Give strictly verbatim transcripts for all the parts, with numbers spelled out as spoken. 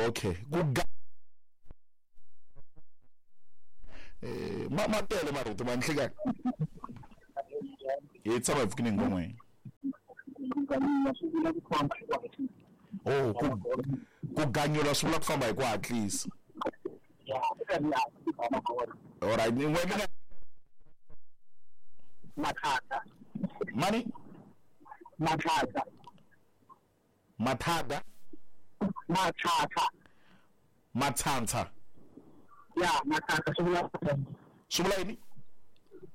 Okay ku eh ma ma tele marito ma nhlekani hi tshama hi pfukini ngomwe. Oh ku ku ganyula swi vula ku famba hi ku hatlisa. All right ni n'we Mathata. Mani? Mathata. Mathata? Mathata. Mathantsha. Ya, mathata swi vula swi vula yini?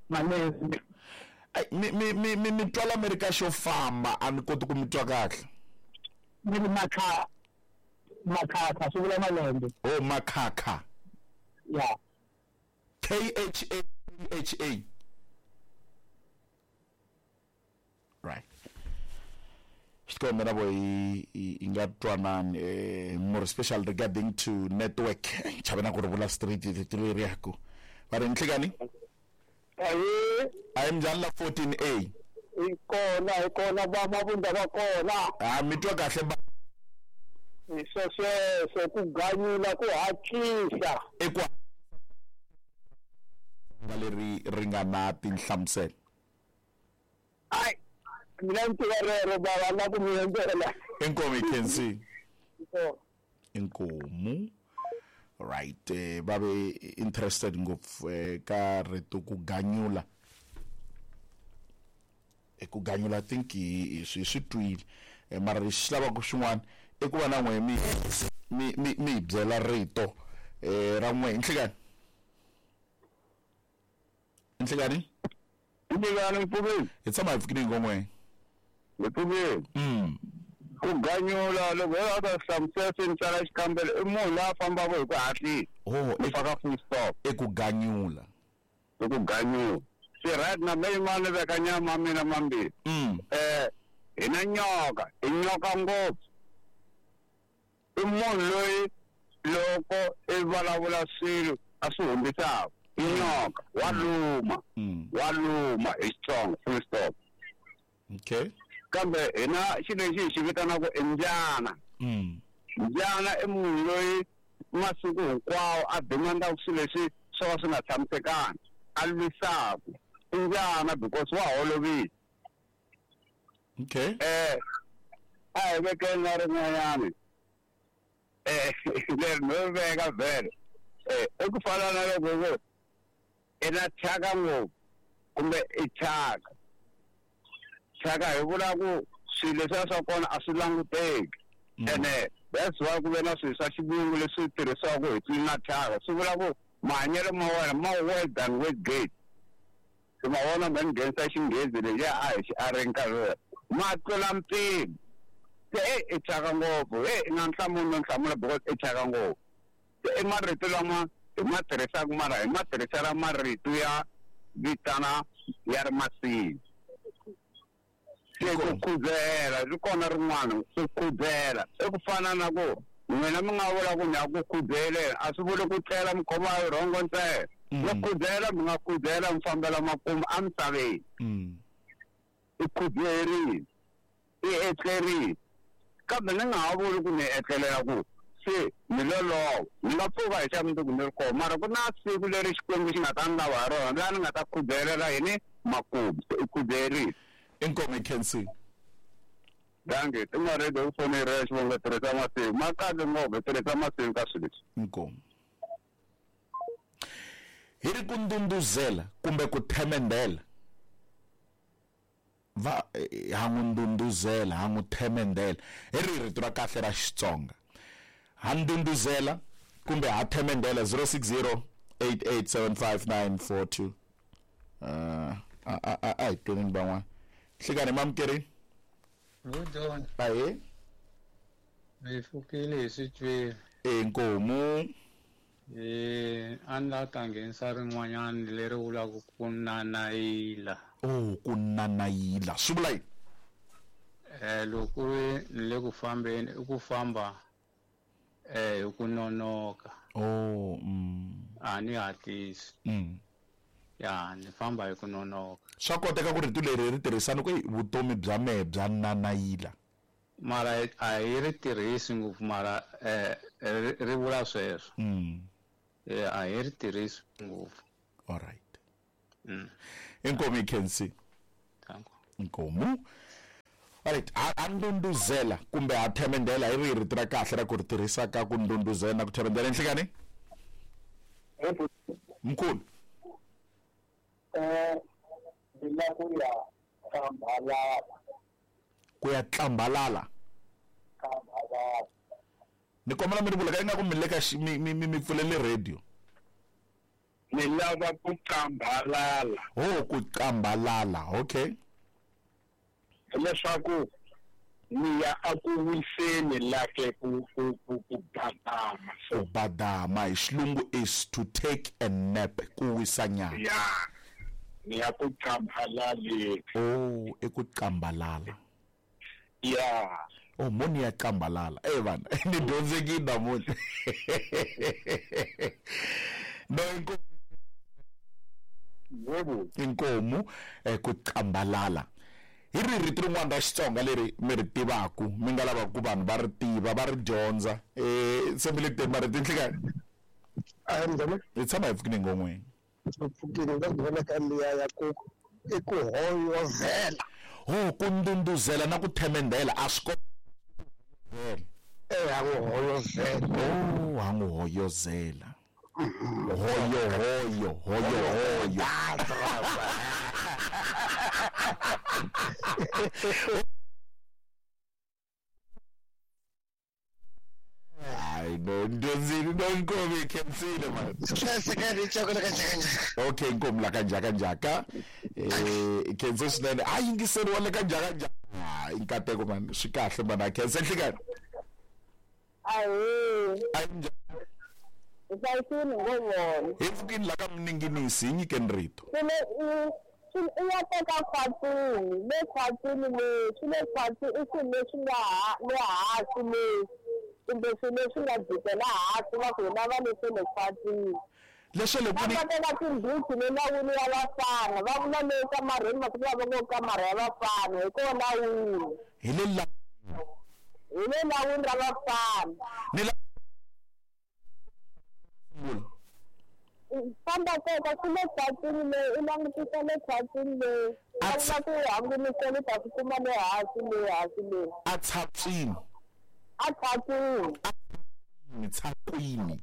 Malezi. Ai mi mi mi mi mi twala America xo famba a ni koti ku mi twa kahle. Ni matha makhakha swi vula malembe. Oh makhakha. Ya. K H A H A. Right. Xikombela vo hi hi nga twanani eh more special regarding to network. Chavena ku ri vula street rito leri ya ku. Va ri nhlekani? Ayi, ayi mjani la fourteen A. Hi kona, hi kona va mavunda va kona. Ah mi twa kahle ba. Hi sweswo ku ganyula ku hatlisa. I ku nga leri ri nga na tinhlamuselo. Ai mina ni tiva rero bava na ku mi endlela. Inkomu Kensi. Inkomu. Right, eh va ve interested ngopfu ka rito ku ganyula. E ku ganyula I think hi swi swi twile. Mara lexi lavaka xin'wana i ku va na n'we mi mi mi mi byela rito eh ra n'we nhlekani. Nhlekani? Nhlekani mpfukeni. Hi tshama hi pfukini ngomwe. Hi pfukeni. Mm. Ku ganyula loko hi ta hlamusela swi ni tsala xikambelo i munhu loyi a fambaka hi ku hatlisa. Oh, i faka full stop. I ku ganyula. I ku ganyula. Se right na me yin'wana veka nyama mina mambirhi. Mm. Eh hi na nyoka, i nyoka ngopfu. I munhu loyi loko i vulavula swilo a swi humbisaka. I nyoka, wa luma. Wa luma hi Xitsonga full stop. Okay. Kambe hina xilo lexi hi xi vitanaka i mbyana. Mm. Mbyana i munhu loyi masiku hinkwawo a demandaka swilo leswi swo ka swi nga tshamisekanga, a lwisaka. I mbyana because wa holovile. Okay. Eh a hi vekeni na rin'wanyana. Eh leri no veka vhele. Eh i ku fana na loko ku i na thyaka ngopfu kumbe i thyaka. Thyaka hi vula ku swilo leswiya swa kona a swi languteki. Ene that's why ku ve na swilo swa xivungu leswi tirhisiwaka hi tlilina thyaka. Swi vula ku mahanyelo ma wena ma well than wet gate. Se ma vona ma nghenisa xinghezi lexiya a hi xi areni nkarhi wolowo. Ma tlula mpimo. Se e i thyaka ngopfu, e i nga nhlamulo no hlamula because i thyaka ngopfu. Se i marito lama hi ma tirhisaka mara hi ma tirhisela marito ya vitana ya ri masini. Se ku khudzela ri kona rin'wana ku khudzela i ku fana na ku n'wina mi nga vula ku ni ya ku khudzeleni a swi vuli ku tlela mi khoma hi rhongo ntsena. Mi khudzela mi nga khudzela mi fambela makumu emisaveni. I khudzerile, i etlerile. Kambe ni nga ha vuli ku ni etlelela ku se ni lolowa ni nga pfuka hi xa mundzuku ni ri kona mara ku na siku leri Xikwembu xi nga ta ni lava hi rona laha ni nga ta khudzelela yini makumu se i khudzerile. Inkomu Kensi. Dankie, ti nga rito ku fonela xivongo tirhisa masiku ma kahle ngopfu tirhisa masiku ka swilo leswi. Inkomu. Hi ri ku ndunduzela kumbe ku themendela. Va ha n'wi ndunduzela, ha n'wi themendela. Hi ri rito ra kahle ra Xitsonga. Ha ndunduzela kumbe ha themendela zero six zero eight eight seven five nine four two. Uh a a a hi tweni van'wana. Hlekani mamukeri. Good. Aye. Mi pfukile hi switwile. Inkomu. Eh a ni la ta nghenisa rin'wanyana leri vulaka ku nanayila. Oh, ku nanayila. Swi vula yini? Eh loko ri ni le ku fambeni i ku famba eh hi ku nonoka. Oh, mm. A ni hatlisi. Mm. Ya ni famba hi ku nonoka. Swa koteka ku rito leri ri tirhisana ku vutomi bya mehe bya nanayila. Mara a hi ri tirhisi ngopfu mara eh Ri vula sweswo. Mm. Eh a hi ri tirhisi ngopfu. All right. Mm. Inkomu ikhensi. Thank you. Inkomu. Alright, a ndunduzela kumbe a themendela hi ri rito ra kahle ra ku ri tirhisa ka ku ndunduzela na ku themendela nhlikani? Mkhulu. Eh ndzi ku ya kambalala. Ku ya tlambalala. Kambalala. Ni kombela mi ri vula ka ingaku mi le ka mi mi mi pfulele radio. Ni lava ku kambalala. Oh, ku kambalala. Okay. Leswaku ni ya aku wiseni lake ku ku ku ku badama. Ku badama hi xilungu is to take a nap, ku wisa nyana. Yeah. Ni ya ku kambalala. Oh, i ku kambalala. Yeah. Oh, moni ya kambalala. Eh bana, ni dyondzekile namuntlha. No inkomu. Inkomu eh ku kambalala. Hi ri rito rin'wana ra Xitsonga leri mi ri tivaku mi nga lavaka ku vanhu va ri tiva va ri dyondza eh se mi le ku marito nhlikani. A njhani? Hi tshama hi pfukile ngon'weni. Pfukile nga vona ka liya ya ku i ku hoyozela. Ho ku ndunduzela na ku themendela a swi eh ha n'wi hoyozela. Oh, ha n'wi hoyozela. Hoyo hoyo hoyo hoyo. Hayi no ndyondzile no inkomu ikhensile man. Okay, inkomu la ka njhaka njhaka. Eh ikhense swinene. A yingiseriwa le ka njhaka njhaka. Hayi nkateko man, swi kahle man, a khense nhlikani. Ayi. Ayi njhani? Hlayisini ngovona. Hi pfukini la ka Mninginisi hi nyikeni rito. I ya teka khwatini, le khwatini le, swi le khwatini i swilo leswi nga le hansi leswi kumbe swilo leswi nga jikela hansi va ku hina va leswi le khwatini. Leswi le kwini. Va teka tindhuti le lawini ya vafana, va vula le kamareni masiku lawa va ngo kamara ya vafana hi kona lawini. Hi le la hi le lawini ra vafana. Ni la famba teka swi le khwatini leyi u langutisa le khwatini leyi va vula ku hangunisela u ta swi kuma le hansi le hansi le. A tshatswini. A tshatswini. Tshakwini.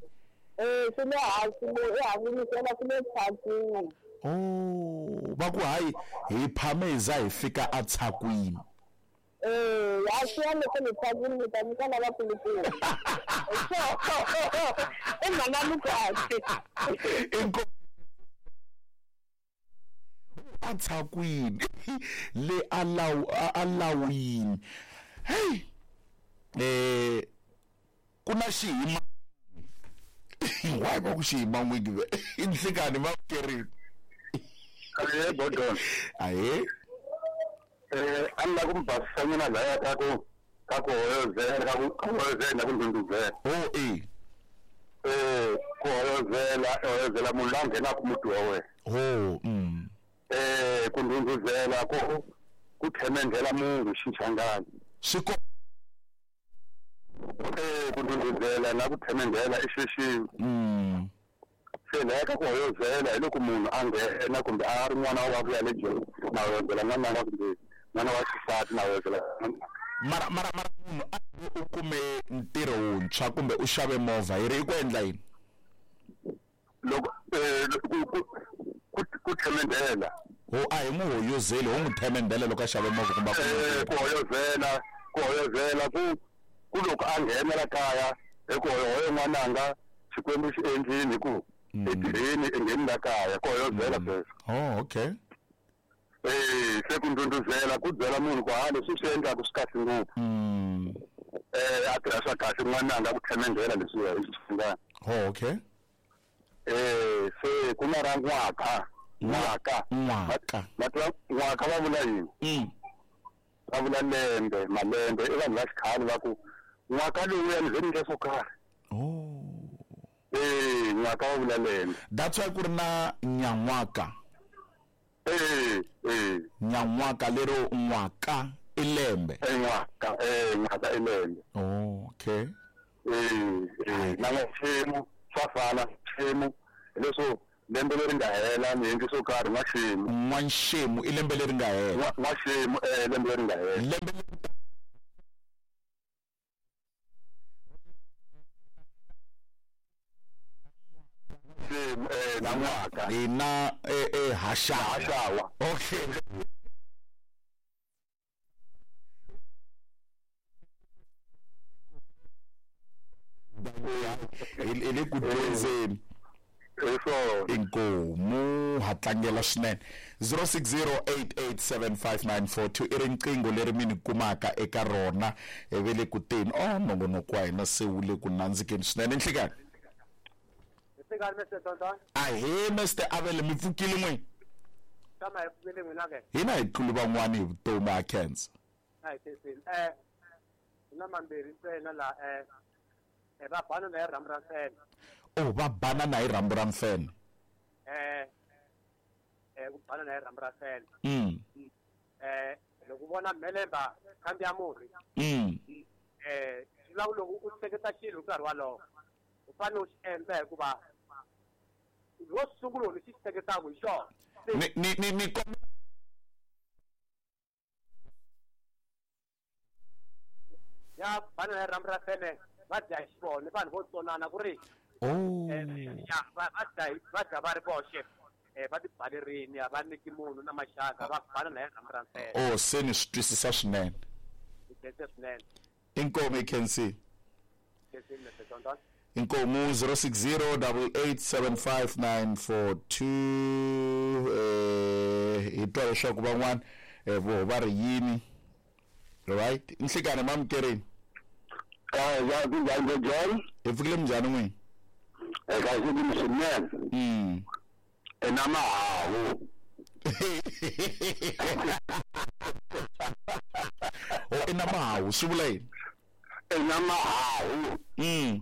Eh swi le hansi le i hangunisela swi le khwatini. Oh, va ku hayi hi phame hi za hi fika a tshakwini. Eh, a swi ya loko le khwatini mi ta nyika lava kulukumba. I mhaka Lukasi. A tshakwini le a law a lawini. Hey. Eh ku na xiyima. Why va ku xiyima n'wini ve? I nhlikani va kerini. Aye bodon. Aye. Eh a ni lava ku mi basisa nyana laya ka ku ka ku hoyozela ka ku hoyozela na ku ndunduzela. Oh eh. Eh ku hoyozela hoyozela munhu la nghenaka muti wa wena. Oh mm. Eh ku ndunduzela ku ku themendela munhu xichangani. Swi ko eh ku ndunduzela na ku themendela i xilo xin'we. Mm. Se laya ka ku hoyozela hi loko munhu a nghena kumbe a ri n'wana wa ku ya le jele na hoyozela n'wananga kumbe n'wana wa xisati na hoyozela. Mara mara mara munhu a u kume ntirho wuntshwa kumbe u xave movha hi ri i ku endla yini? Loko eh ku ku ku themendela. Ho a hi n'wi hoyozeli ho n'wi themendela loko a xave movha kumbe a eh ku hoyozela ku hoyozela ku ku loko a nghena la kaya hi ku hoyo n'wananga Xikwembu xi endlini hi ku etirheni engheni la kaya ku hoyozela sweswo. Oh okay. Eh se ku ndunduzela ku byela munhu ku ha leswi swi endlaka swi kahle ngopfu. Mm. Eh a tirha swa kahle n'wananga ku themendela leswiya hi xichangani. Oh okay. Eh se ku na ra n'waka n'waka n'waka matwa n'waka va vula yini? Mm. Va vula lembe malembe i vanhu va xikhale va ku n'waka lowuya ni ze ni endla swo karhi. Oh. Eh n'waka va vula lembe. That's why ku ri na nyan'waka. Eh eh nyan'waka lero n'waka i lembe. Eh n'waka eh n'waka i lembe. Oh okay. Eh eh na n'waxemu swa fana xemu leswo lembe leri nga hela ni endli swo karhi n'waxemu. N'waxemu i lembe leri nga hela. N'waxemu eh lembe leri nga hela. Lembe xemu eh na n'waka. Hina eh eh haxawa. Haxawa. Okay. Hi le ku dyondzeni. Inkomu ha tlangela swinene. zero six zero eight eight seven five nine four two i riqingho leri mi ni kumaka eka rona ve le ku teni. Oh nongonoko wa hina se wu le ku nandzikeni swinene. Nhlikani ahee Mister Avele, mi pfukile n'wina? Hina hi tluli van'wani hi vutomi ha khensa. A hi khenseni. Eh na mambirhi ntsena la eh va banana hi rhambu ra mfene. Oh va banana hi rhambu ra mfene. Eh eh ku banana hi rhambu ra mfene. Mm. Eh loko vona mhelemba khambi ya murhi. Mm. Eh swi vula ku loko u hleketa xilo nkarhi walowo u fanele u xi endla hikuva ro sungula lexi xi hleketaka hi xona. Ni ni ni ni ya banana hi rhambu ra mfene va dya hi xivona vanhu vo tsonana ku ri oh ya va va dya va dya va ri voxe eh va tibalerini a va nyiki munhu na maxaka va banana hi rhambu ra mfene. Oh se ni swi twisisa swinene. Swinene. Inkomu i khensi. Inkomu zero six zero double eight seven five nine four two eh hi twa leswaku van'wana vo va ri yini. Right? Nhlikani mamukerini. Eh ya kunjani John? Hi pfukile minjhani n'wina? Eka xikimi swinene. Mm. Ena mahawu. Oh ena mahawu swi vula yini? Ena mahawu. Mm.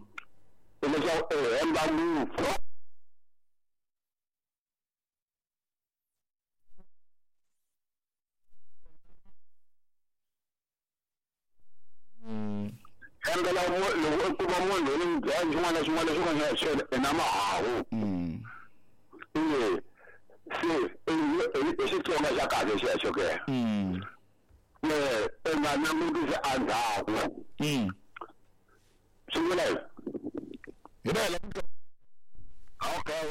Leswaku e hemba ngopfu. Hembela loko u kuma munhu loyi n'wi byela xin'wana na xin'wana lexi nga xona ena mahawu. Mm. Eh se i Xitsonga xa kahle xexo ke. Mm. Eh i nga langutisi endzhaku. Mm. Swi vula yini? Hi vela. Okay.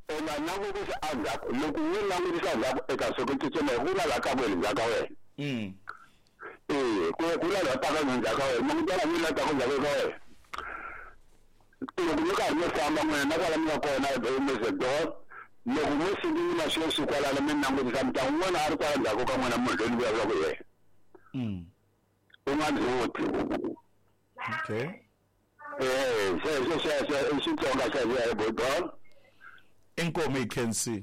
I nga langutisi endzhaku loko u langutisa endzhaku eka soko tsutsuma hi ku la la ka wena ndzhaku ka wena. Mm. Eh ku ku la la ta ka ndzhaku ka wena munhu la la ta ka ndzhaku ka wena. Loko mi karhi mi famba n'wina na kwala mi nga kona eMesedor loko mi sungula sweswi kwalano mi langutisa mi ta n'wana a ri kwala ndzhaku ka n'wina munhu loyi ni vulavulaka hi yena. Mm. U nga ndzhuti. Okay. Eh xexo xexo i Xitsonga xexo hi Bodol. Inkomu i khensi.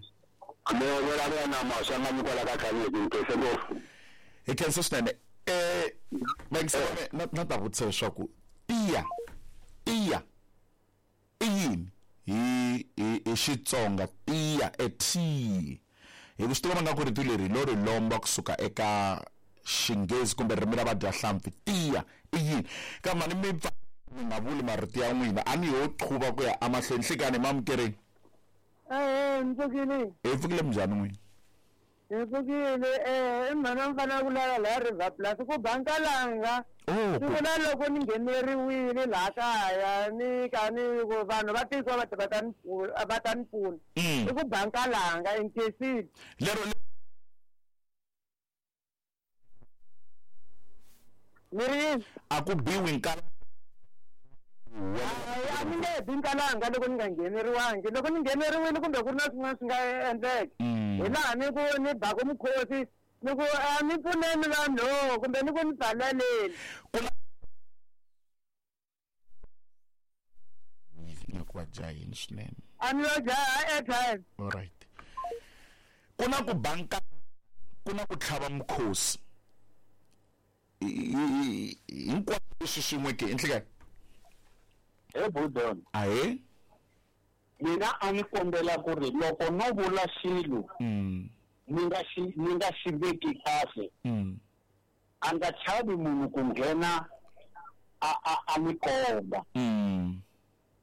Mi vulavula na Maswanganyi kwala ka Khaledi ni ngopfu. Hi khensa swinene. Eh vayingiseri na na ta vutisa leswaku tiya tiya i yini hi hi hi Xitsonga tiya e tea hi ku swi tiva nga ku rito leri lo ri lomba kusuka eka Xinghezi kumbe ririmi ra vadyahlampfi tiya i yini kambe ni mi pfa mi nga vuli marito ya n'wina a ni ho qhuva ku ya emahlweni. Nhlikani mamukerini. Eh mi pfukile. Hi pfukile minjhani n'wina? Hi pfukile eh i mhana mi fanele ku lala laha River Plus ku ba nkalanga. Oh Swi vula loko ni ngheneriwile laha kaya ni ka ni ku vanhu va tiko va ta va ta ni va ta ni pfuna. I ku ba nkalanga i nkhensile. Lero ni ri yini? A ku biwi nkalanga. Hayi a ni nge bi nkalanga loko ni nga ngheneriwangi loko ni ngheneriwile kumbe ku ri na swin'wana swi nga endleka hi laha ni ku ni baku mukhosi ni ku a ni pfuneni vanhu kumbe ni ku ni pfaleleni. Nga ku va jahini swinene. A ni lo jaha airtime. All right. Ku na ku banka ku na ku tlhava mukhosi hinkwaswo leswi swin'we ke enhlekani. He Budon. Ahee. Mina a ni kombela ku ri loko no vula xilo Mm. ni nga xi ni nga xi veki kahle Mm. a nga chavi munhu ku nghena a a a mi komba. Mm.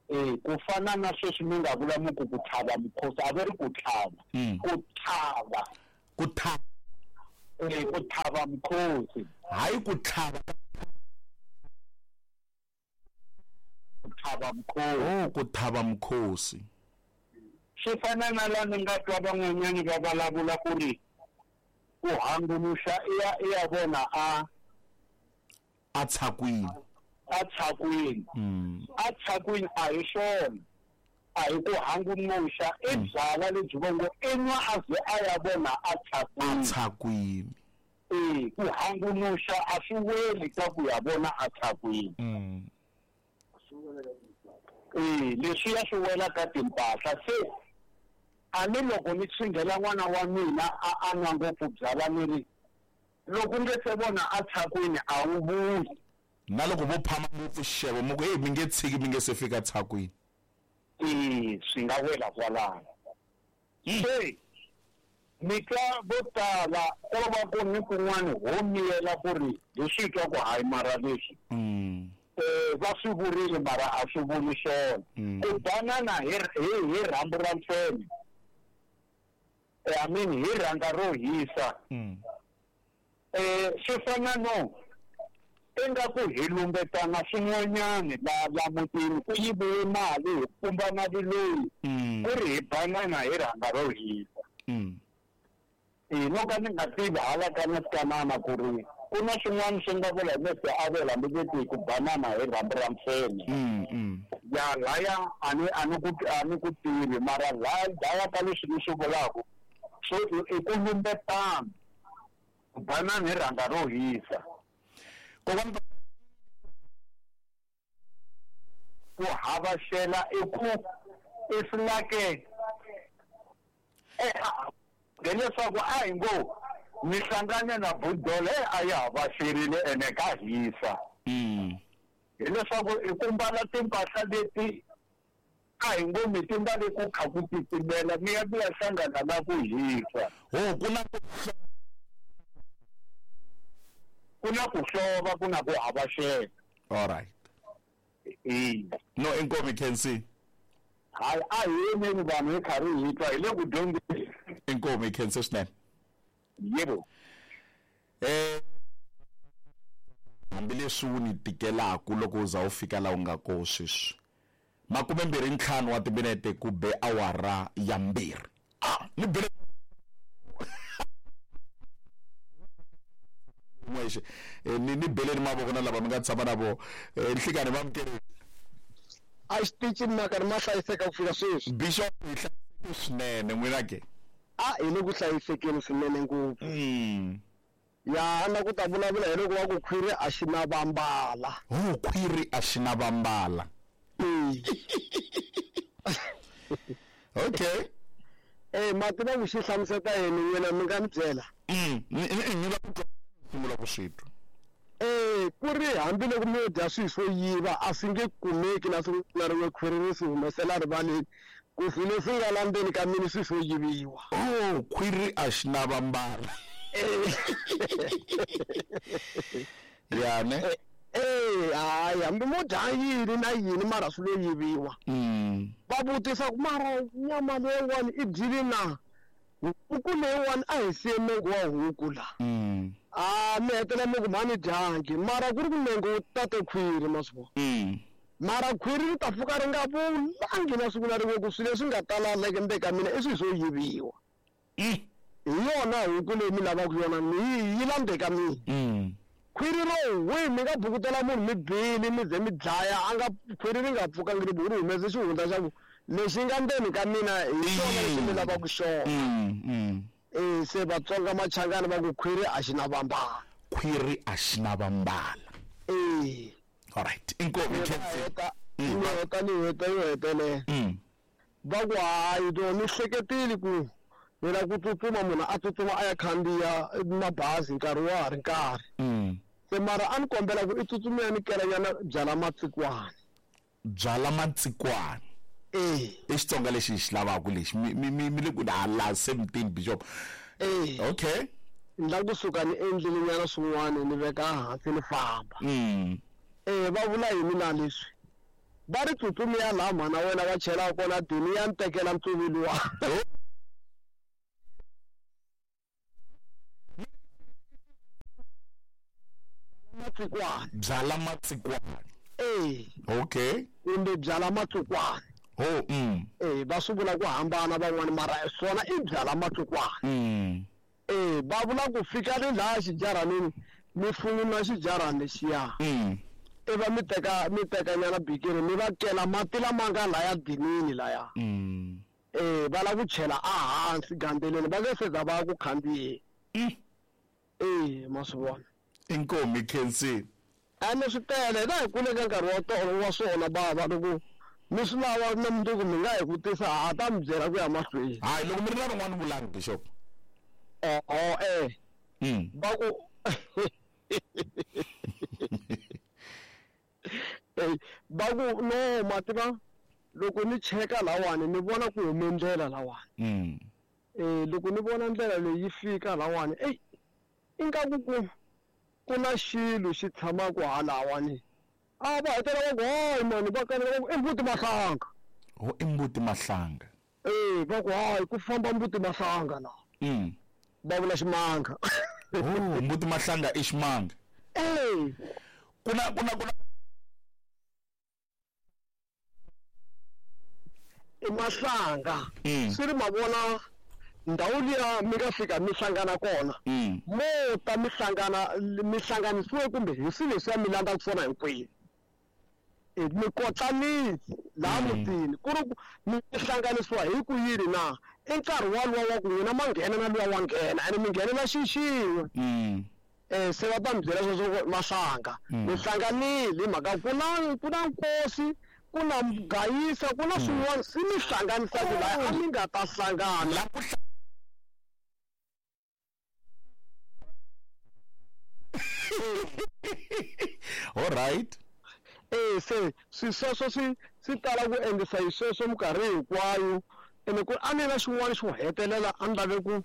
Eh ku fana na sweswi mi nga vula mi ku ku tlhava mukhosi a va ri ku tlhava. Mm. Ku tlhava. Ku tlhava. Eh ku tlhava mukhosi. Hayi ku tlhava. Ku tlhava mukhosi. Oh ku tlhava mukhosi. Swi fana na laha ni nga twa van'wanyani va vulavula ku ri ku hanguluxa i ya i ya vona a a tshakwini. A tshakwini. Mm. A tshakwini a hi swona. A hi ku hanguluxa i byala lebyi va ngo i nwa a ze a ya vona a tshakwini. A tshakwini. Eh ku hanguluxa a swi weli ka ku ya vona a tshakwini. Mm. Eh leswi ya swi wela ka timpahla se a ni loko ni tshinghela n'wana wa mina a a nwa ngopfu byala ni ri loko nge se vona a tshakwini a wu vuyi. Na loko vo phama ngopfu xixevo mi ku hey mi nge tshiki mi nge se fika tshakwini. Eh swi nga wela kwalano. Se mi twa vo tala ko va ku ni kun'wani ho miyela ku ri hi swi twa ku hayi mara leswi. Mm. Eh va swi vurile mara a swi vuli swona. Ku banana hi hi hi rhambu ra mfene. Eh I mean hi rhanga ro hisa. Mm. Eh swi fana no ingaku hi lumbetana swin'wanyani la la mutini ku yiviwe mali hi pumba mali loyi. Mm. Ku ri hi banana hi rhanga ro hisa. Mm. Eh no ka ni nga tivi hala ka na twanana ku ri ku na swin'wana swi nga vula leswi a vula hambi ku banana hi rhambu ra mfene. Mm, mm. Ya laya a ni a ni ku a ni ku tivi mara laya laya ka leswi ni swi vulaka so i ku lumbetana ku banana hi rhanga ro hisa. Kokwana ku havaxela i ku i flake eh hileswaku a hi ngo mi hlangane na budole a yi havaxerile ene ka hisa. Mm. Hileswaku i ku mbala timpahla leti a hi ngo mi ti mbale ku kha ku titimela mi ya mi ya hlangana na ku hisa. Ho ku na ku na ku hlova ku na ku havaxela. All right. Eh. No inkomi can see. Hayi a hi yimeni vanhu hi karhi hi twa hi le ku dyondzeni. Inkomi can see swinene. Yebo. Eh hambileswi wu ni tikelaku loko u za u fika laha u nga koho sweswi. Makume mbirhi ntlhanu wa timinete ku be awara ya mbirhi. Ah, ni bele n'wexe. Eh ni ni beleni mavoko na lava mi nga tshama na vo. Eh nhlikani va mukeri. A xitichini makarhi ma hlayiseka ku fika sweswi. Bishop hi hlayiseke swinene n'wina ke. A hi le ku hlayisekeni swinene ngopfu. Mm. Ya na ku ta vulavula hi loko wa ku khwiri a xi na vambala. Ho khwiri a xi na vambala. Okay. Eh mati va ku xi hlamuseta yini n'wina mi nga ni byela? Mm, ni la ku sungula ku swi twa. Eh ku ri hambiloko mi dya swilo swo yiva a swi nge kumeki na siku na rin'we khwiri ri swi humesela rivaleni ku swilo leswi nga la ndzeni ka mina swi swo yiviwa. Oh khwiri a xi na vambala. Ya ne? Eh hayi hambi mo dya yini na yini mara swi lo yiviwa. Mm. Va vutisa ku mara nyama leyiwani i dyile na? Huku leyiwani a hi siye nenge wa huku la. Mm. A mi hetelela mi ku mhani dyangi mara ku ri ku nenge wu tate khwiri ma swi vona. Mm. Mara khwiri ri ta pfuka ri nga vulangi na siku na rin'we ku swilo leswi nga tala la ndzeni ka mina i swilo swo yiviwa. Mm. Hi yona huku leyi mi lavaka yona ni yi la ndzeni ka mina. Mm. Khwiri ro hwi mi nga bukutela munhu mi bile mi ze mi dlaya a nga khwiri ri nga pfukangi ri ri humese xihundla xa ku lexi nga ndzeni ka mina hi xona lexi mi lavaka xona. Mm, mm. Eh se Vatsonga Machangani va ku khwiri a xi na vambala. Khwiri a xi na vambala. Eh. All right. Inkomi can see. Ni heta ni heta yo hetelela. Mm. Va ku hayi to ni hleketile ku ni la ku tsutsuma munhu a tsutsuma a ya khandziya mabazi nkarhi wa ha ri nkarhi. Mm. Se mara a ni kombela ku i tsutsumela ni kelanyana byala matsikwani. Byala matsikwani. Eh. I Xitsonga lexi hi xi lavaka lexi mi mi mi le ku hala seventeen Bishop. Eh. Okay. Ni la kusuka ni endlile nyana swin'wana ni veka hansi ni famba. Mm. Eh va vula yini na leswi va ri tsutsumi ya laha mhana wena va chela kona dini ya ntekela ntsuvilo wa matsikwana byala matsikwana eh okay kumbe byala matsikwana oh mm eh va swi vula ku hambana van'wani mara swona i byala matsikwana mm eh va vula ku fika ni laha xijaranini mi funguna xijarani lexiya mm i va mi teka mi teka nyana bikini mi va kela mati lama nga laya dinini laya mm eh va lava ku chela ehansi gandeleni va nge seza va ku khandziyeni mm eh ma swi vona inkomi khensini ene swi tele hina hi kule ka nkarhi wa tolo wa swona bava loko mi swi lava na mundzuku mi nga hi vutisa ha ta mi byela ku ya mahlweni hayi loko mi ri na rin'wana vulani bishop oho eh mm va ku Eh, va ku no ma tiva loko ni cheka lawani ni vona ku hume ndlela lawani mm eh loko ni vona ndlela leyi yi fika lawani eyi ingaku ku ku na xilo xi tshamaka halawani a va hetelela va ku hayi mani va kanela va ku i mbuti mahlanga ho i mbuti mahlanga eh va ku hayi ku famba mbuti mahlanga la mm va vula ximanga oh mbuti mahlanga i ximanga eh kuna kuna kuna i mahlanga Mm. swi ri ma vona ndhawu liya mi nga fika mi hlangana kona mm mo ta mi hlangana mi hlanganisiwe kumbe hi swilo leswiya mi landzaka swona hinkwenu e mi kotlanile laha mutini ku ri ku mi hlanganisiwa hi ku yini na i nkarhi waluwa wa ku n'wina ma nghena na luwa wa nghena ene mi nghenela xi xin'we mm um se va ta mi byela sweswo ku mahlanga Mm. mi hlanganile hi mhaka ku na ku na nkosi ku na gayisa ku na swin'wana swi mi hlanganisaka laha a mi nga ta hlangana la ku hla- all right eh se swi sweswo swi swi tala ku endlisa hi sweswo minkarhi hinkwayo ene ku a ni na xin'wana xo hetelela a ni lave ku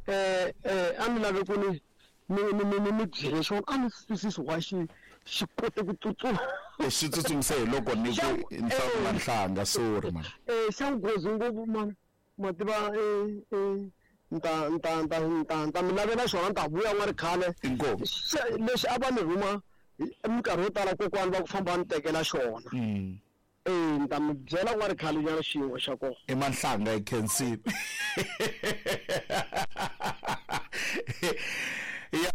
eh eh a ni lave ku ni ni ni ni ni mi byele xona a ni swi twisisi wa xi xi kote ku tsutsuma xi tsutsumise hi loko ni ku nhlanga nhlanga sorry man eh xa nghozi ngopfu man ma tiva eh eh nta nta nta nta nta mi lavela xona ni ta vuya n'wa ri khale inkomu Xe- lexi a va ni rhuma hi- minkarhi yo tala kokwani va ku famba va ni tekela xona mm eh ni ta mi byela ku nga ri khale nyana xin'we xa kona i mahlanga i khensini ya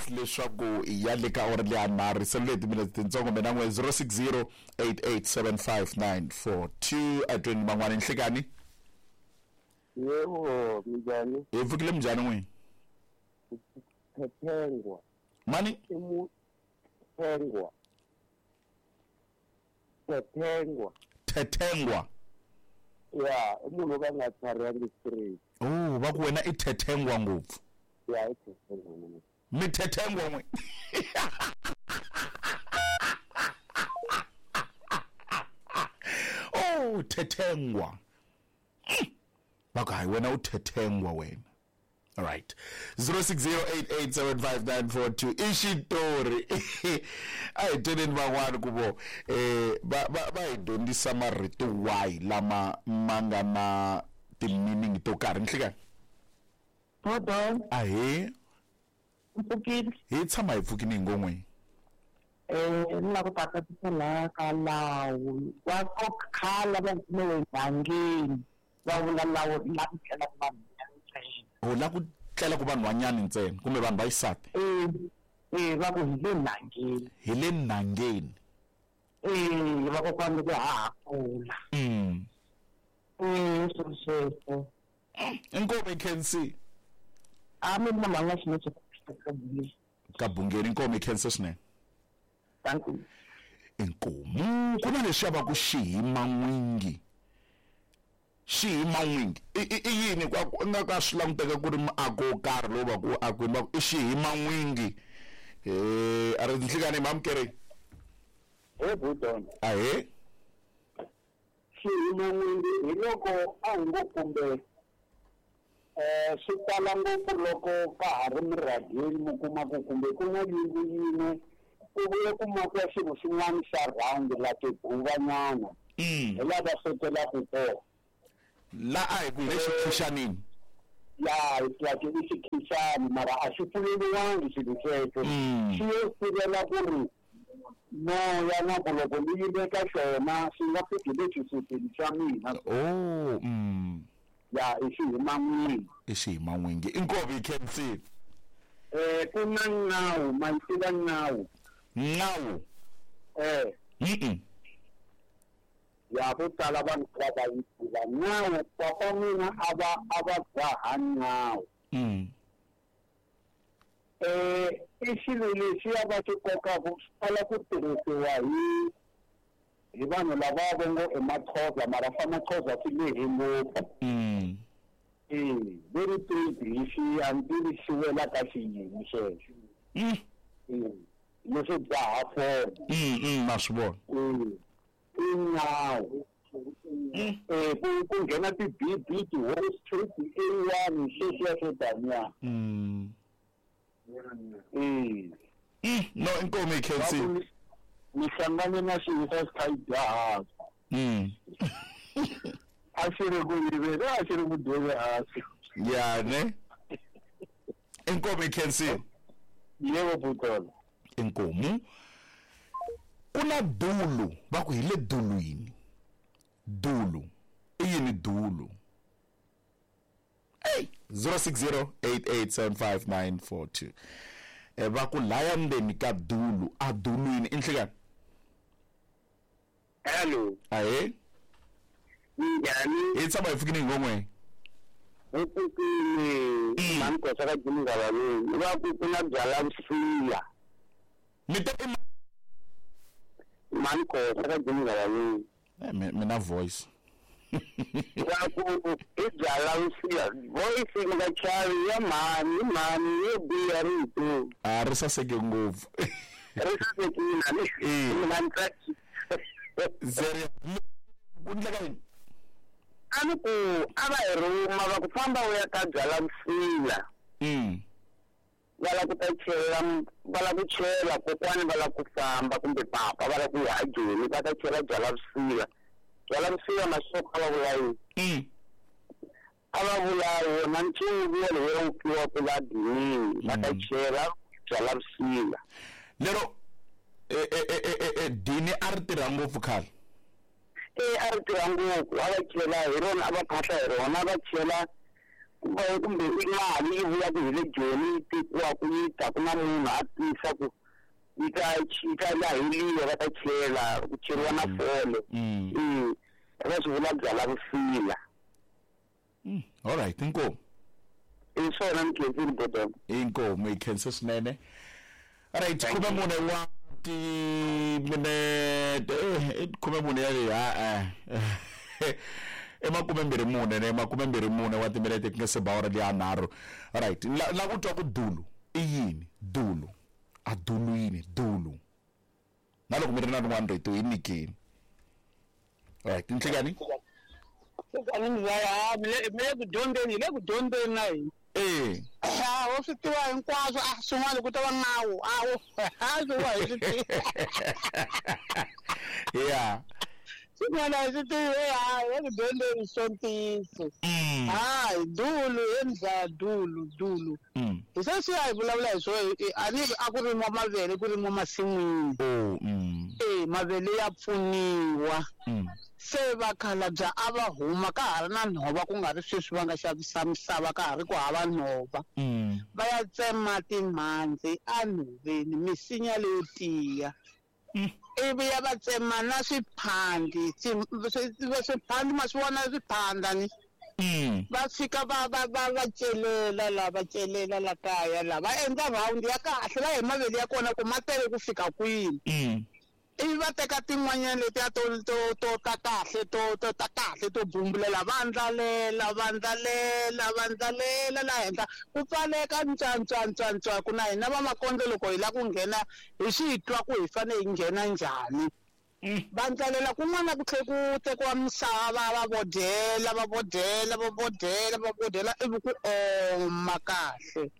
leswaku ya le ka ora leya nharhu selule hi timinete tintsongo mina n'we zero six zero eight eight seven five nine four two atweni van'wana nhlekani Yebo, minjhani? hi pfukile minjhani n'wini Thethengwa. mani I mu Thengwa. Thethengwa. thethengwa Ya, i munhu wo ka a nga tlharihangi straight. oh va ku wena i thethengwa ngopfu Ya, i thethengwa mina. mi thethengwa n'we oh thethengwa Mm. va ku hayi wena u thethengwa wena all right zero six zero eight eight seven five nine four two i xitori a hi tweneni van'wani ku vo eh va va va hi dyondzisa marito wahi lama ma nga na ti-meaning to karhi nhlekani Bodo, ahee mpfukile. hi tshama hi pfukini hi ngon'weni Eh, ni lava ku ta tatisa laha ka lawu wa ko khala va kumiwe ndzhangeni va vula lawu la ku tlelaka vanhu ntsena. o la ku tlela ku vanhwanyani ntsena kumbe vanhu va xisati Eh, eh, va ku hi le ndzhangeni. hi le nangeni Eh, vakokwani loko ha ha kula. mm. Eh, swilo sweswo. inkomo ikhensi A mi na mhaka xinene ka bungeni. ka bungeni inkomo ikhense swinene Thank you. inkomu ku na leswiya va ku xihima n'wingi xihima n'wingi i i- i yini kwa ku nga ka swi languteka ku ri muako wo karhi lowu va ku wu akiwini va ku i xihima n'wingi eh a ri nhlikani mamukere He Budon. ahee Xiyimo n'wingi hi loko a hi ngo kumbe Eh swi tala ngopfu loko ka ha ri murhangeni mi kuma ku kumbe ku na yindlu yin'we ku vuye ku makiwa xilo xin'wana xa round la tiguvanyana hi laha va swekelaka kona la a hi ku hi le xikhixanini ya like i xikhixani mara a xi pfuleliwangi xilo xexo xi yo sivela ku ri moya na ku loko ni yime ka xona xi nga fiki le xisutini xa mina oh mm. ya i xihiman'wingi i xihiman'wingi inkomu yi khensile eh ku na nawu ma yi tiva nawu nawu eh mm ya vo tala vanhu va va yi tiva nawu papa mina a va a va dzaha nawu mm eh i xilo lexiya va xi kokaku swi tala ku tirhisiwa hi hi vanhu lava va ngo i Maxhosa mara swa Maxhosa swi lehe ngopfu mm eh very tricky hi xi a ni tivi xi wela ka xiyini xexo mm eh leswo dzaha fole mm mm na swi vona eh i nawu eh ku ku nghena ti-B B ti-Wall Street A one sweswiya swo taniya mm eh mm no inkomu yi khensile mi hlangane na xilo xa xi kha yi dya hansi mm a xi ri ku yiveni a xi ri ku dyeni hansi ya ne inkomu yi khensile yebo butolo inkomu ku na dulu va ku hi le dulwini dulu i yini dulu ey zero six zero eight eight seven five nine four two e va ku laya ndzeni ka dulu a dulwini i nhlekani hello ahe minjhani hi tshama hi fikini hi ngon'we hi pfukile mhani kosa ka jimingalaweni va ku ku na byala vusiya mi te i mhani kosa ka jimingalaweni Eh, mi mi na voice va ku i byala vusiya voice mi nga chavi ya mhani mhani yo biha rito a ri saseke ngopfu ri sasekile a ni Eh. mi nga ni tsakisi Zeri ku ndleka yini a ni ku a va hi rhuma va ku famba u ya ka byala vusiya mm va lava ku ta chela va lava ku chela kokwani va lava ku famba kumbe papa va lava ku ya ajoni va ta chela byala vusiya byala vusiya masoko a va vula yini mm a va vula wona ncuvu wolowo wu kiwaku la dinini va ta chela byala vusiya lero e e e e e dini a ri tirha ngopfu khale e a ri tirha ngopfu a va chela hi rona a va phahla hi rona a va chela kumbe kumbe i mali yi vuya ku hi le joni yi tekiwaku yi ta ku na munhu a tisa ku yi ta yi ta laheliwa va ta chela ku cheriwa na fole mm e va swi vula byala vusila mm all right inkomu i swona ni khensile bodona inkomu yi khense swinene alright khume mune wa timinete eh khume mune ya le ha eh i makume mbirhi mune ne makume mbirhi mune wa timinete ku nga se ba awara liya nharhu alright la la ku twa ku dulu i yini dulu a dulu yini dulu na loko mi ri na rin'wana rito yi nyikeni alright nhlekani mi le ku dyondzeni hi le ku dyondzeni na hina eh a wo swi tiva hinkwaswo a swin'wana ku ta va nawu a wo a swin'wana hi swi tivi yeah swin'wana hi swi tivi a hi le ku dyondzeni swo ntiyiso mm hayi dulu he mzaya dulu dulu mm hi sweswiya hi vulavula hi swo a ni a ku rimiwa mavele ku rimiwa masin'wini oh mm e mavele ya pfuniwa mm se vakhalabya a va huma ka ha ri na nhova ku nga ri sweswi va nga xavisa misava ka ha ri ku hava nhova mm va ya tsema timhandzi enhoveni misinya leyo tiya Mm. ivi ya va tsema na swiphandi swi- swiphandi ma swi vona swiphanda ni mm va fika va va va va celela la va celela la kaya la va endla round ya kahle la hi mavele ya kona ku ma tele ku fika kwini mm ivi va teka tin'wanyana letiya to to to ta kahle to to ta kahle to bumbulela va ndlalela va ndlalela va ndlalela la henhla ku pfaleka ntswantswantswantswa ku na hina va makondlo loko hi lava ku nghena hi swi twa ku hi fanele hi nghena njhani Va ndlalela kun'wana ku tlhe ku tekiwa misava va bodela va bodela va bodela va bodela ivi ku oma kahle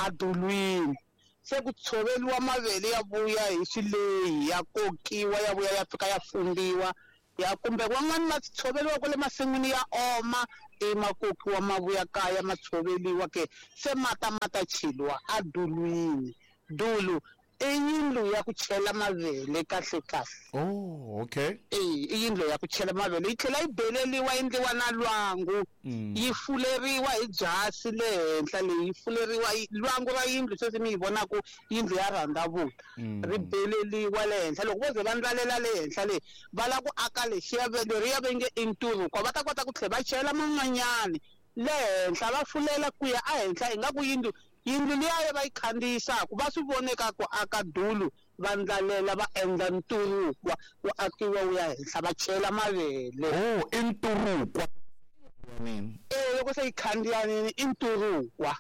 adulwini. Se ku tshoveliwa mavele ya vuya hi swileyi ya kokiwa ya vuya ya fika ya fumbiwa ya kumbe van'wani va tshoveliwa kwale masin'wini ya oma i ma kokiwa ma vuya kaya ma tshoveliwa ke se mata ma ta cheliwa adulwini. Dulu i yindlu ya ku chela mavele kahle kahle. Oh, okay. Eh, i yindlu ya ku chela mavele yi tlhela yi beleliwa endliwa na lwangu. Yi fuleriwa hi byasi le henhla leyi yi fuleriwa lwangu ra yindlu sweswi mi yi vonaka yindlu ya rhandzavula. Ri beleliwa le henhla loko vo ze va ndlalela le henhla le va lava ku aka lexiya leriya va nge i nturukwa va ta kota ku tlhela va chela man'wanyani le henhla va fulela ku ya ehenhla ingaku yindlu yindlu liya va yi khandziyisaku va swi voneka ku aka dulu va ndlalela va endla nturukwa wu akiwa wu ya henhla va chela mavele. Oh, i nturukwa. Eh, loko se yi khandziyanini i nturukwa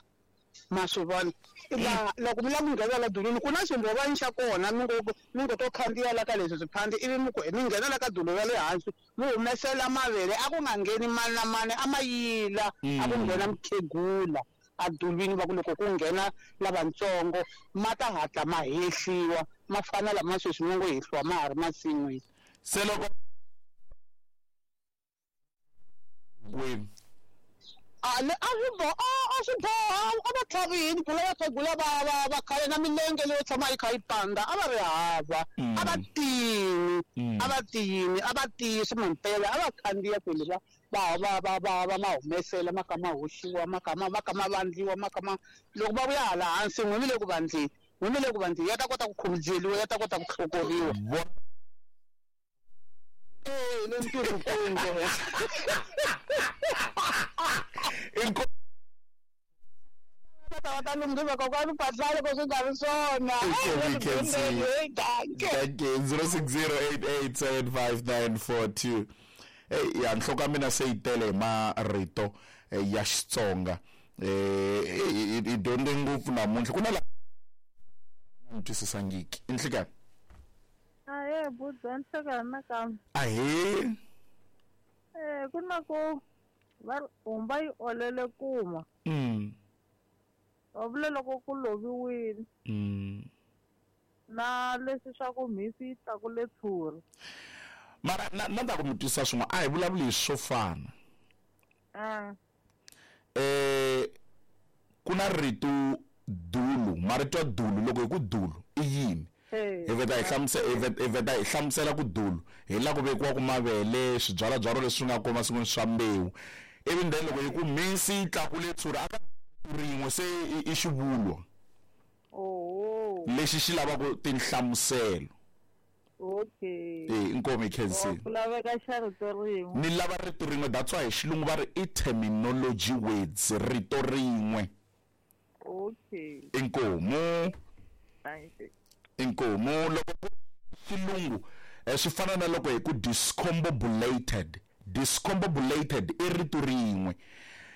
ma swi vona. La loko mi lava ku nghena la dulwini ku na ximbhovani xa kona mi ngo mi ngo to khandziya la ka leswi swiphandi ivi mi ku mi nghena la ka dulu ra le hansi mi humesela mavele a ku nga ngheni mani na mani a ma yila a ku nghena mukhegula adulwini va ku loko ku nghena lavatsongo ma ta hatla ma hehliwa ma fana lama sweswi mi ngo hehliwa ma ha ri masin'wini. Se loko kwini a le a swi boha a swi boha a va tlhavini phela vakhegula va va va khale na milenge leyo tshama yi kha yi pandza a va ri hava a va tiyini a va tiyini a va tiyisi mampela a va khandziya kwele va va va va va va ma humesela ma kha ma hoxiwa ma kha ma ma kha ma vandliwa ma kha ma loko va vuya hala hansi n'we mi le ku vandleni n'we mi le ku vandleni ya ta kota ku khumujeliwa ya ta kota ku hlokoriwa. Eh, le nturukweni. Ta lunghisa kokwani mpahla loko swi nga ri swona. zero six zero eight eight seven five nine four two. Eh, ya nhloko ya mina se yi tele hi marito ya Xitsonga. Eh, i dyondze ngopfu namuntlha ku na la ni twisisangiki. I nhlikani? Ahee, buza nhlekani nakambe. Ahee. Eh, ku na ku va humba yi olele kuma. Mm. Va vula loko ku loviwile. Mm. Na leswi swa ku mhisi yi tlakule tshuri. Mara na na ta ku mi twisa swin'wana a hi vulavuli hi swo fana. Eh. Eh, ku na rito dulu, marito ya dulu loko hi ku dulu i yini? Hi veta hi hlamusela hi veta hi hlamusela ku dulu hi la ku vekiwa ku mavele swibyalabyalo leswi nga koma masin'wini swa mbewu ivi then loko hi ku mhisi yi tlakule tshuri a ka rin'we se i xivulwa lexi xi lavaka tinhlamuselo. Okay. Eh, inkomu yi khensile. Ku laveka xa rito rin'we. Ni lava rito rin'we, that's why hi xilungu va ri i terminology words, rito rin'we. Okay. Inkomu. Thank you. Inkomu loko xilungu swi fana na loko hi ku discombobulated. Discombobulated i rito rin'we.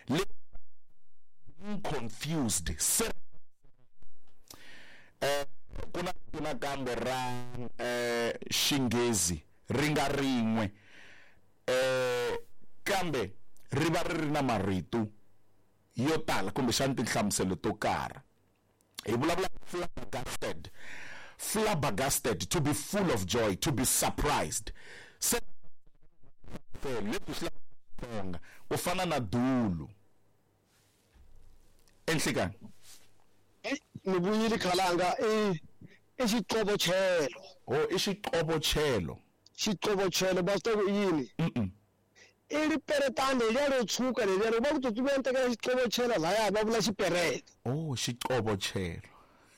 Le confused. Eh, ku na ku na kambe ra eh Xinghezi ri nga rin'we eh kambe ri va ri ri na marito yo tala kumbexana tinhlamuselo to karhi. Hi vulavula flabbergasted. Flabbergasted, to be full of joy, to be surprised. Se leswi swi ku fana na dulu. Enhlekani ni vuyile khalanga i i xiqobochelo. Oh, i xiqobochelo. Xiqobochelo va swi tiva ku i yini? I riperetani leriya ro tshuka leriya ro va ku tsutsuma tekela xiqobochelo laya va vula xiperete. Oh, xiqobochelo.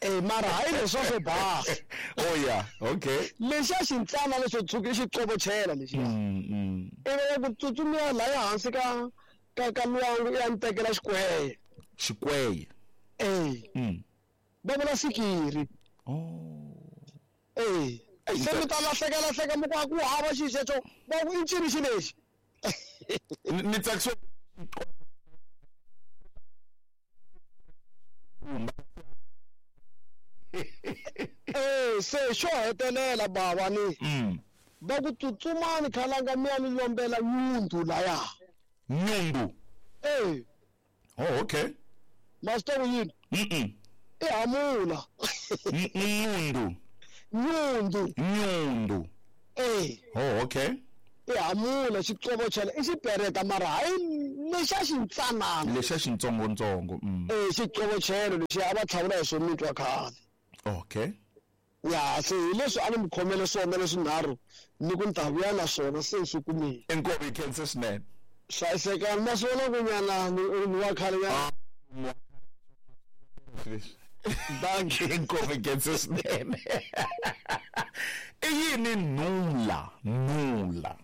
Eh, mara hayi leswa swo basa. Oh yeah, okay. Lexiya xintsana lexo tshuka i xiqobochela lexiya. Mm. Ivi ku tsutsumiwa laya hansi ka ka ka lwangu ya ni tekela xikweye. Xikweye. Eh. Mm. Va vula sikiri. Oh. Eh. Se mi ta lahleka lahleka mi ku a ku hava xi xexo va ku i ncini xi lexi. Ni tsakisiwa Eh, se xo hetelela bava ni. Mm. Va ku tsutsumani khalanga mi ya ni lombela nyundu laya. Nyundu. Eh. Oh, okay. Master yini? Mhm. I hamula. Nyundu. Nyundu. Nyundu. Eh. Oh, okay. I hamula xiqobochela i xipereta mara hayi lexa xintsanana. Lexa xintsongontsongo. Mm. Eh, xiqobochelo lexi a va tlhavula hi swo mitwa khale. Okay. Ya, se hi leswi a ni mi khomele swona leswinharhu ni ku ni ta vuya na swona se swi kumile. Inkomu yi khense swinene. Hlayisekani ma swi vona ku nyana ni wa khale nyana. Dankie, inkomu yi khense swinene. I yini nula? Nula.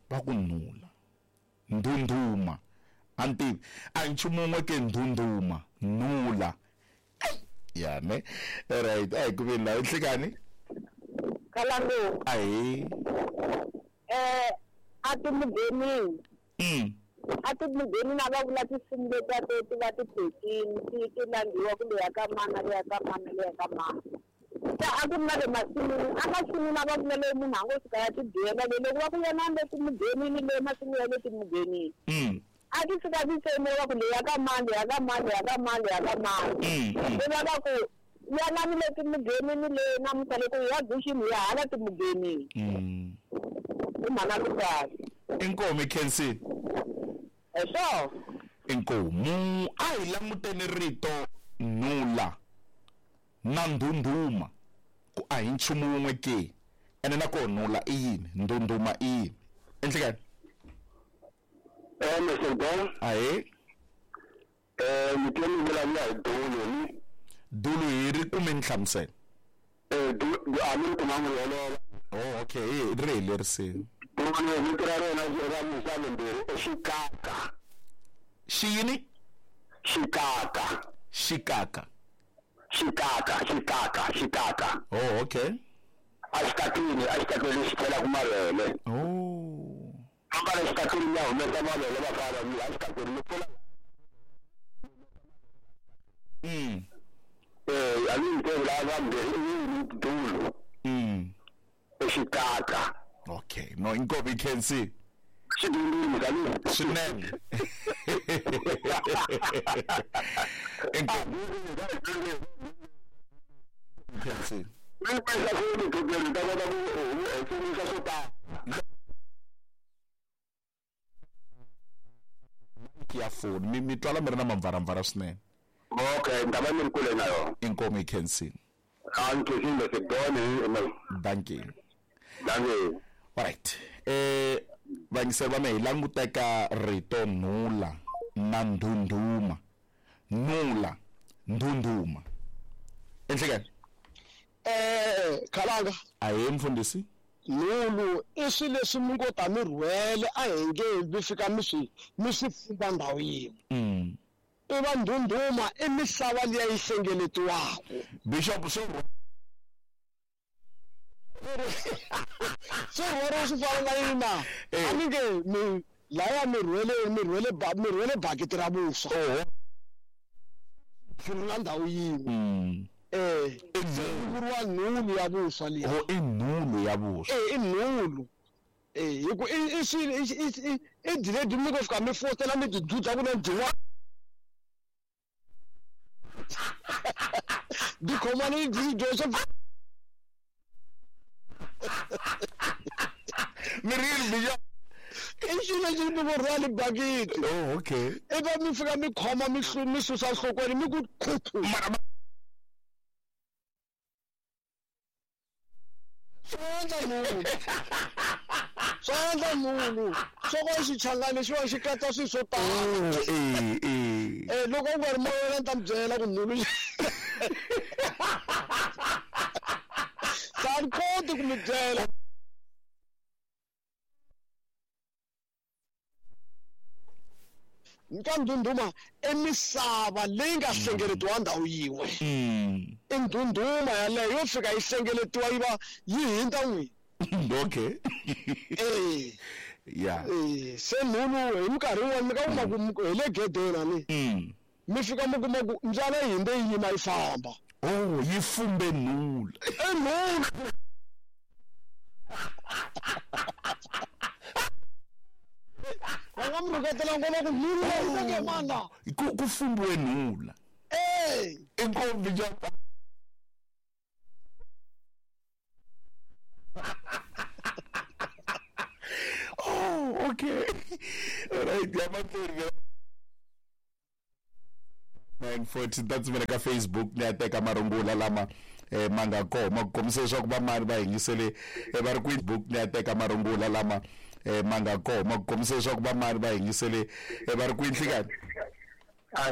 Va ku nula. Ndhundhuma. A ni tivi. A hi nchumu wun'we ke ndhundhuma. Nula. Ya ne. Right, a hi ku veni laha nhlekani. Khalangu. Ahee. Eh, a ti mughenini. Mm. A ti mughenini a va vula tinsimu letiya to ti va ti phekini ti ti langhiwa ku leya ka mana leya ka mana leya ka mana. Se a ku ri na le masin'wini, a masin'wini a va vula leyi munhu a ngo fika ya tibyela leyi loko va ku yena le timughenini le masin'wini ya le timughenini. Mm. A ti fika ti tsemiwa ku leya ka mani leya ka mani leya ka mani leya ka mani. Mm. Se va va ku yanani le timughenini le namuntlha loko hi ya guxini hi ya hala timughenini. Mm. I mhana ku kahle. Inkomu yi khensile. Hi swona. Inkomu a hi languteni rito nula na ndhundhuma ku a hi nchumu wun'we ke ene na koho nula i yini ndhundhuma i yini enhlekani. Eh, Mister Don. Ahee. Eh, mi twe mi vulavula hi dulu ni. Dulu hi ri kume nhlamuselo. Eh, du a mi ri kumanga ri olova. Oh, okay, hi ri helerisile. Dulu vito ra rona ra misava mbirhi i xikaka. Xi yini? Xikaka. Xikaka. Xikaka, xikaka, xikaka. Oh, okay. A xikakini, a xikakini lexi chelaka mavele. Oh. Famba le xikakini ya humesa mavele va fana ni a xikakini mi pfula. Mm. Eh, a ni nge la va mbirhi i yini dulu. Mm. I xikaka. Okay, no inkomu yi khensile. Xidundumi ka ni. Swinene. Inkomu khensile. Mi pesa ku ni ku ta kota ku hefemisa swo tala. Ya foni mi mi twala mi ri na mamvaramvara swinene. Okay, ni ta va ni ri kule na yona. Inkomu yi khensile. A ni khensile se doni. Dankie. Dankie. Alright. Eh vayingiseri va mehe hi languteka rito nula na ndhundhuma. Nula, ndhundhuma. Enhlekani. Eh, khalanga. Ahee mfundhisi. Nulu i swilo leswi mi ngo ta mi rhwele a hi nge mi fika mi swi mi swi fumba ndhawu yin'we. Mm. I va ndhundhuma i misava liya yi hlengeletiwaka. Bishop swo swi rhwariwa swi fana na yini na? A ni nge mi laya mi rhwele mi rhwele mi rhwele bakiti ra vuswa. Pfurula ndhawu yin'we. Mm. Eh, vuriwa nhulu ya vuswa liya. Oh, i nhulu ya vuswa. Eh, i nhulu. Eh, hi ku i i swilo i i diledi mi ngo fika mi fotela mi ti dzudza ku na dyiwa. Di khomani di dyo swo mi ri yini Bishop? I xilo lexi mi ngo rhwali bakiti. Oh, okay. Ivi mi fika mi khoma mi mi susa nhlokweni mi ku khuthu. Mara swi endla nhulu. Swi endla nhulu. Swo ka xichangani lexiwa xi katsa swilo swo tala. Eh, eh. Eh, loko u nga ri moya ni ta mi byela ku nhulu. Se a ni koti ku mi byela. Ka ndhundhuma i misava leyi nga hlengeletiwa ndhawu yin'we. Mm. I ndhundhuma yaleyo yo fika yi hlengeletiwa yi va yi hundza n'wini. Okay. Eh. Yeah. Eh, se nhulu hi minkarhi yin'wana mi ka kuma ku hi le gedeni ani. Mm. Mi fika mi kuma ku mbyana yi hundze yi yima yi famba. Oh, yi fumbe nhulu. I nhulu. rhuketela ngoma ku nhula yi teke mani la ku ku fumbiwe nhula e inkomu ja oh okay right ya mahlweni nine forty ta tshumela ka Facebook ni ya teka marungula lama eh, ma nga kona ma ku kombisa leswaku vamani va yingisele eh, va ri kwini book ni ya teka marungula lama eh, ma nga kona ma ku kombisa leswaku vamani va yingisele eh, va ri kwini nhlikani Ahee.